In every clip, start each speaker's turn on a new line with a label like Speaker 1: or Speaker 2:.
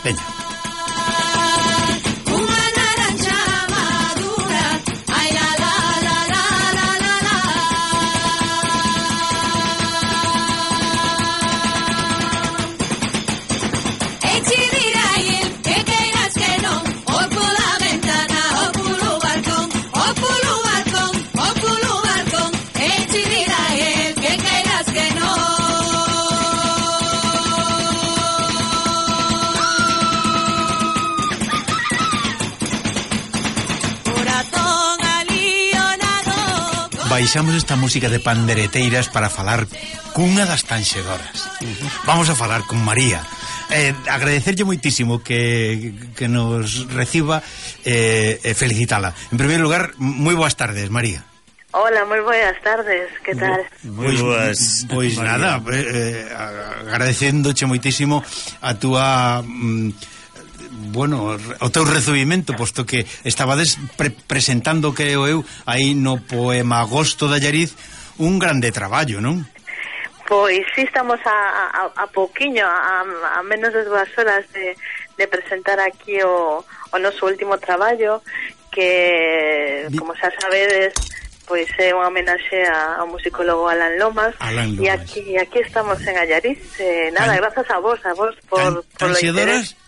Speaker 1: Veña. Baixamos esta música de pandereteiras para falar cunha das tanxedoras. Vamos a falar con María. Agradecerlle moitísimo que nos reciba e felicitala. En primeiro lugar, moi boas tardes, María.
Speaker 2: Hola, moi boas tardes, que tal?
Speaker 1: Moi boas. Pois nada, agradecéndoche moitísimo a túa... bueno, o teu recibimento, posto que estabades presentando, creo eu, aí no poema Agosto de Allariz, un grande traballo, non?
Speaker 2: Pois sí, estamos a pouquiño, a menos de 2 horas de presentar aquí o noso último traballo, que, como xa sabedes, pois é unha homenaxe ao musicólogo Alan Lomas. E aquí estamos en Allariz. Nada, grazas a vos por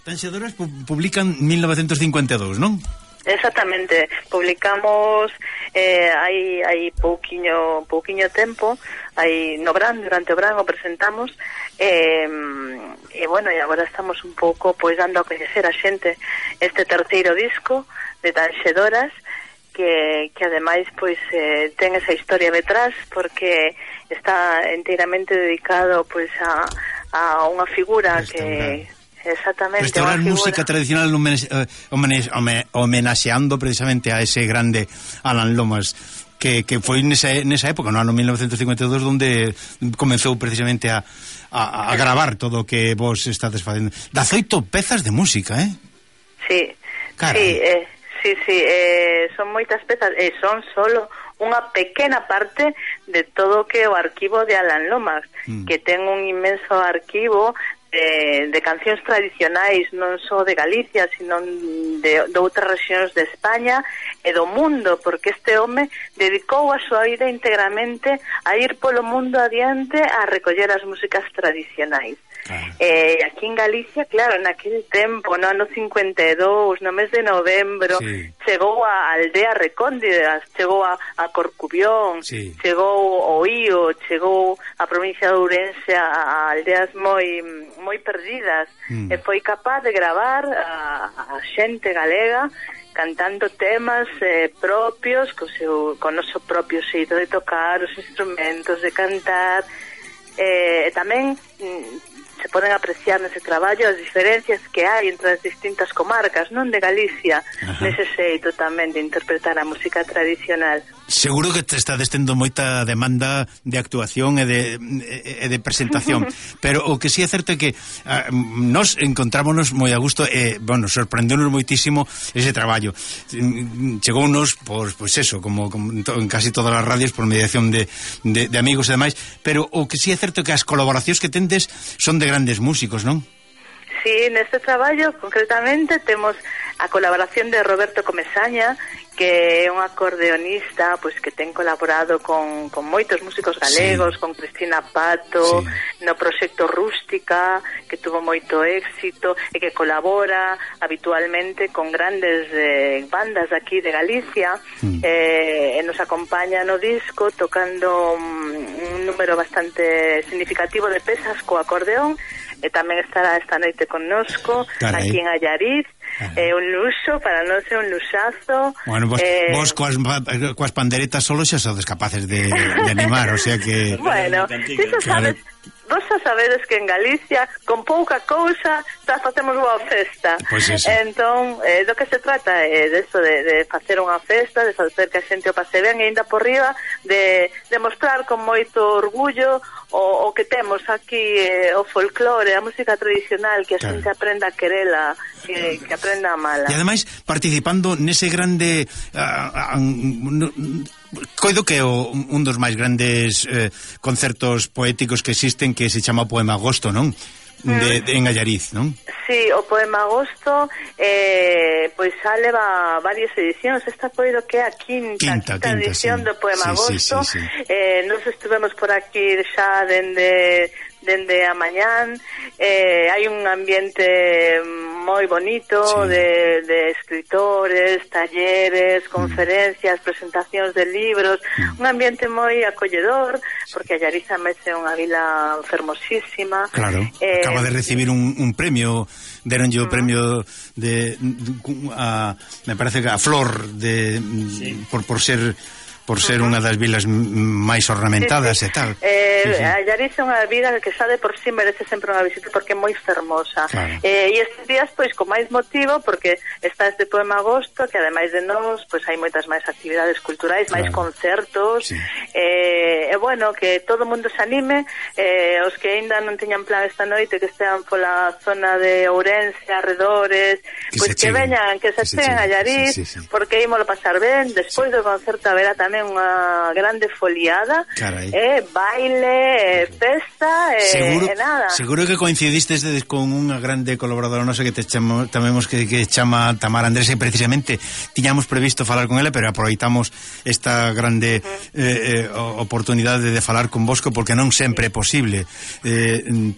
Speaker 1: Tanxedoras publican 1952, non?
Speaker 2: Exactamente, publicamos hai pouquiño tempo, aí no Bran, durante o Bran o presentamos, e bueno, e agora estamos un pouco pois dando a coñecer a xente este terceiro disco de Tanxedoras, que ademais pois ten esa historia detrás, porque está enteiramente dedicado pois a unha figura que... Exactamente.
Speaker 1: Restaurar música tradicional homenaxeando precisamente a ese grande Alan Lomas, que foi nesa época, no ano 1952, onde comenzou precisamente a gravar todo o que vos estades facendo. 18 pezas de música,
Speaker 2: Sí. Carai. Sí, son moitas pezas, e son solo unha pequena parte de todo o que o arquivo de Alan Lomas, que ten un inmenso arquivo de cancións tradicionais, non só de Galicia, sino de outras rexións de España e do mundo, porque este home dedicou a súa vida integramente a ir polo mundo adiante a recoller as músicas tradicionais. Aquí en Galicia, claro, naquele tempo, no ano 52, no mes de novembro, chegou a aldea recóndidas, chegou a Corcubión, chegou ao Ío, chegou a provincia de Ourense, a aldeas moi perdidas, e foi capaz de gravar a xente galega cantando temas propios, con o noso propio xeito de tocar os instrumentos, de cantar, e tamén se poden apreciar nese traballo as diferencias que hai entre as distintas comarcas, non de Galicia, nese xeito tamén de interpretar a música tradicional.
Speaker 1: Seguro que te estades tendo moita demanda de actuación e de presentación, pero o que sí é certo é que nos encontrámonos moi a gusto e, bueno, sorprendeunos moitísimo ese traballo. Chegounos, pois eso, como en casi todas as radios, por mediación de amigos e demais, pero o que sí é certo é que as colaboracións que tendes son de grandes músicos, non?
Speaker 2: Sí, neste traballo, concretamente, temos a colaboración de Roberto Comesaña, que é un acordeonista pois que ten colaborado con moitos músicos galegos, con Cristina Pato, no proxecto Rústica, que tuvo moito éxito e que colabora habitualmente con grandes bandas aquí de Galicia, e nos acompaña no disco tocando un número bastante significativo de pezas co acordeón, e tamén estará esta noite connosco aquí en Allariz. É un luxo, para nós é un luxazo.
Speaker 1: Bueno, vos coas panderetas solo xa sodes capaces de animar, o sea que...
Speaker 2: Bueno, iso sabes, vos xa sabedes que en Galicia con pouca cousa xa facemos boa festa. Entón, do que se trata é deso, de facer unha festa, de facer que a xente o pase ben, e ainda por riba de mostrar con moito orgullo o que temos aquí, o folclore, a música tradicional, que a xente aprenda a querela, que aprenda a amala.
Speaker 1: E ademais participando nese grande coido que é un dos máis grandes concertos poéticos que existen, que se chama Poema Agosto, non? en Allariz, non?
Speaker 2: Sí, o poema Agosto pois xa leva varias edicións. Esta coido que é a quinta edición do poema Agosto. Nos estuvemos por aquí xa dende a mañán. Hai un ambiente moi bonito de escritores, talleres, conferencias, presentacións de libros, un ambiente moi acolledor, porque Allariz é unha vila fermosísima.
Speaker 1: Claro, acaba de recibir un premio, deronlle o premio me parece que a Flor por ser unha das vilas máis ornamentadas e tal.
Speaker 2: Allariz é unha vila que xa de por sí merece sempre unha visita porque é moi fermosa. E estes días, pois, con máis motivo, porque está este poema Agosto, que ademais de nós, pois hai moitas máis actividades culturais, máis concertos, e bueno, que todo o mundo se anime, os que ainda non teñan plan esta noite, que estean pola zona de Ourense, arredores, pois que veñan, que se cheguen a Allariz, porque ímolo pasar ben. Despois do concerto haberá tamén unha grande foliada, baile, festa, e nada.
Speaker 1: Seguro que coincidistes con unha grande colaboradora nosa que chamamos que chama Tamara Andrés, e precisamente tiñamos previsto falar con ela, pero aproveitamos esta grande oportunidade de falar con vosco, porque non sempre é posible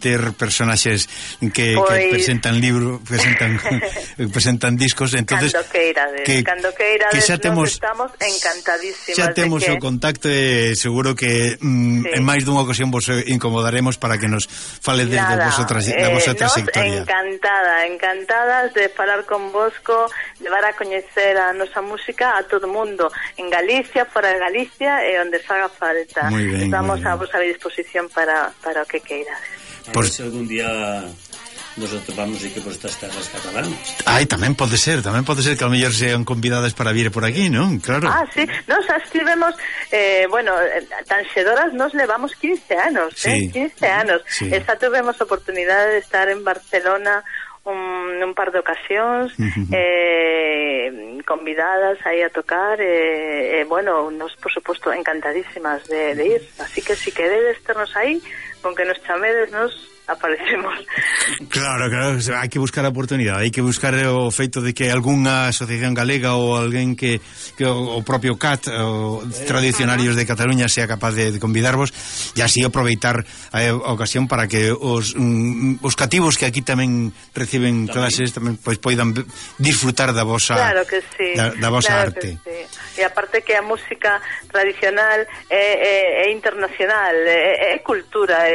Speaker 1: ter personaxes que presentan libros, presentan discos, entonces
Speaker 2: cando queirades,
Speaker 1: xa temos,
Speaker 2: estamos encantadísimas.
Speaker 1: Xa temos o contacto e seguro que en máis dunha ocasión vos incomodaremos para que nos faledes da vosa trayectoria.
Speaker 2: Encantadas de falar con vosco, levar a coñecer a nosa música a todo o mundo, en Galicia, fora de Galicia e onde faga falta. Estamos a vosa disposición para o que queirades.
Speaker 3: Por se algún día nos atopamos aquí por estas terras catalanas.
Speaker 1: Tamén pode ser que ao mellor sean convidadas para vir por aquí, non? Claro.
Speaker 2: Sí, nos estivemos Tanxedoras nos levamos 15 anos, 15 anos. Esta tuvemos oportunidade de estar en Barcelona un par de ocasións, convidadas aí a tocar, nos, por suposto, encantadísimas de ir. Así que si queredes ternos aí, con que nos chamedes, nos aparecemos.
Speaker 1: Claro, hai que buscar a oportunidade, hai que buscar o feito de que algunha asociación galega ou alguén que o propio CAT, o Tradicionarios de Cataluña, sea capaz de convidarvos e así aproveitar a ocasión para que os cativos que aquí tamén reciben clases tamén pois poidan disfrutar da vosa da vosa arte.
Speaker 2: E aparte que a música tradicional é internacional, é cultura,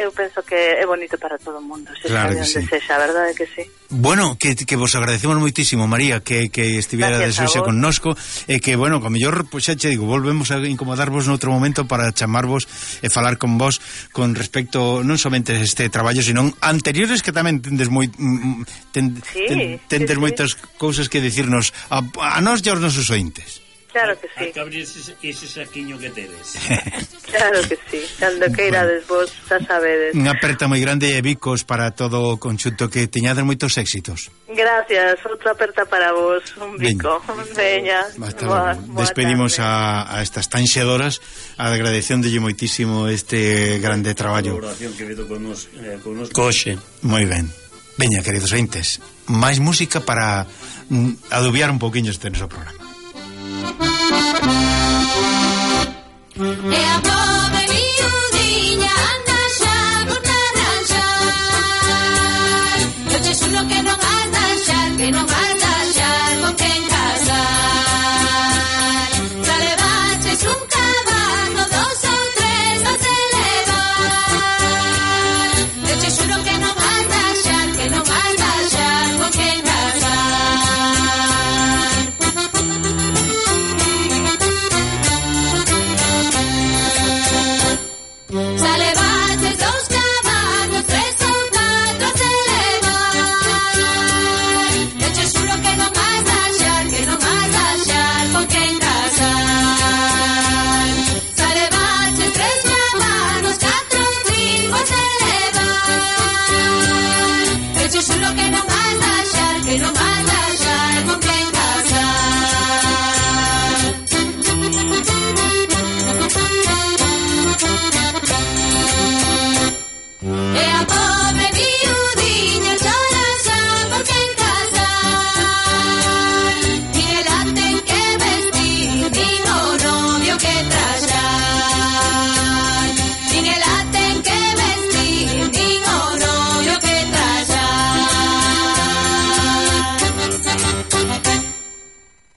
Speaker 2: eu penso que é bonito para todo o mundo,
Speaker 1: claro que
Speaker 2: sí. Sexa, verdade que sí.
Speaker 1: Bueno, que vos agradecemos moitísimo, María, que estivera deshoxe connosco, e que, bueno, co mellor, pois xa che digo, volvemos a incomodarvos noutro momento para chamarvos e falar con vos con respecto non somente a este traballo, sino anteriores que tamén tendes moitas cousas que dicirnos a nós e aos nosos ointes.
Speaker 2: Claro que sí.
Speaker 3: Hai que abrir ese saquiño que tedes.
Speaker 2: Claro que sí. Cando queirades vos, xa sabedes.
Speaker 1: Unha aperta moi grande e bicos para todo o conxunto, que teñades moitos éxitos.
Speaker 2: Gracias, outra aperta para vos. Un bico. Veña.
Speaker 1: Despedimos a estas Tanxedoras, agradecéndole moitísimo este grande traballo.
Speaker 3: A colaboración que vedo con nos Coxe.
Speaker 1: Moi ben. Veña, queridos ointes, máis música para adubiar un poquinho este noso programa.
Speaker 4: E a pobre miudiña